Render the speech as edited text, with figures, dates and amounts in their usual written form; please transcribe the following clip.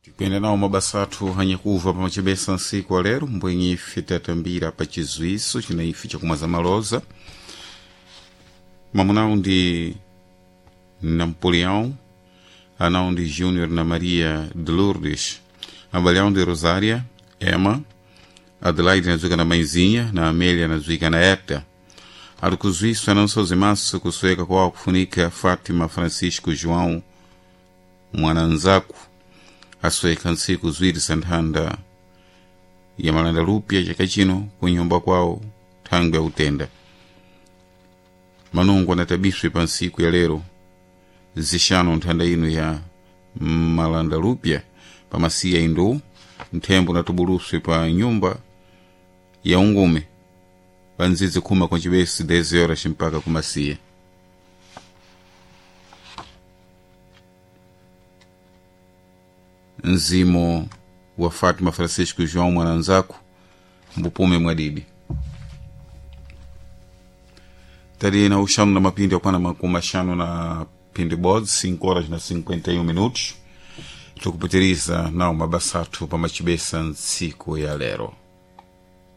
Tikuyenda nawo mabasa athu anyakuva pamachebesa nsiku alero mbwenye ife tatambira pa chizwiso china ife chakumwa za maloza mamunawu ndi Napoleão, anawu ndi Júnior na Maria de Lourdes, abale awo ndi Rosária, Emma, Adelaide nadziwika na maizinha na Amélia nadziwika na Eta. Ali kuzwiswa ananso maso kusweka kwawo kufunika Fátima Francisco João mwananzaku asweka ntsiku ziwiri za nthanda ya malanda lupya chaka chino kunyumba kwawo thangwi yautenda. Manungo anatabiswe pa ntsiku ya lero zixanu nthanda ino ya malanda lupya pamasiya indu nthembo unatubuluswe pa nyumba ya ungume pa ndzidzi khuma kwa cibesi 10 horas mpaka kumasiya. Mzimu wa Fátima Francisco João mwananzaku mbupume mwadidi tali na uxanu na mapindi akwana makumi axanu na pindi bodzi 5 horas na 51 minutos tikupitiriza nawo mabasa athu pamachibesa ntsiku ya lero.